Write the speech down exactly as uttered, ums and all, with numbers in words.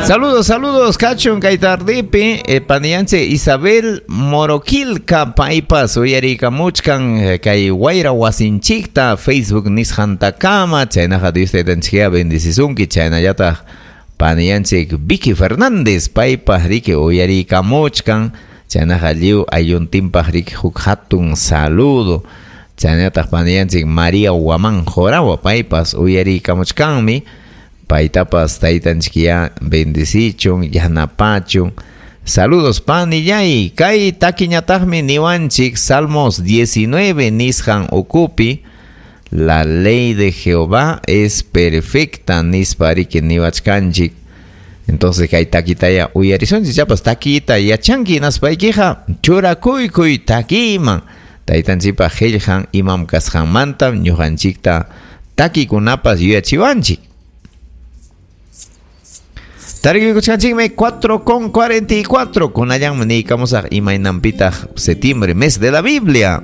Saludos, saludos, kachun kay tardipi, eh, paniyanchik Isabel Moroquilca paypas uyariykamuchkan eh, kay wayra wasinchikta Facebook nisqantakama, chaynaqa Dios taytanchikya bendecisunki, chaynallataq paniyanchik Vicky Fernández paypas riki uyariykamuchkan, chaynaqa lliw aylluntinpaq riki huk hatun saludo. Chaynallataq paniyanchik María Guamán Jorawa paypas uyariykamuchkanmi. Paytapas taytanchikya bendecichun, yanapachun. Saludos panillay. Kay takiñataqmi niwanchik Salmos diecinueve nisqan ukupi. La ley de Jehová es perfecta nispa riki niwachkanchik. Entonces kay takitaya uyarisunchik, chapas takita yachanki naspaykiqa churakuykuy takiman. Taytanchikpa qillqan imam kasqanmanta ñuqanchikta takikunapas yuyachiwanchik. Tarikuykuchkanchikmi cuatro con cuarenta y cuatro. Kunallanmi niykamusaq imaynampitaq septiembre, mes de la Biblia.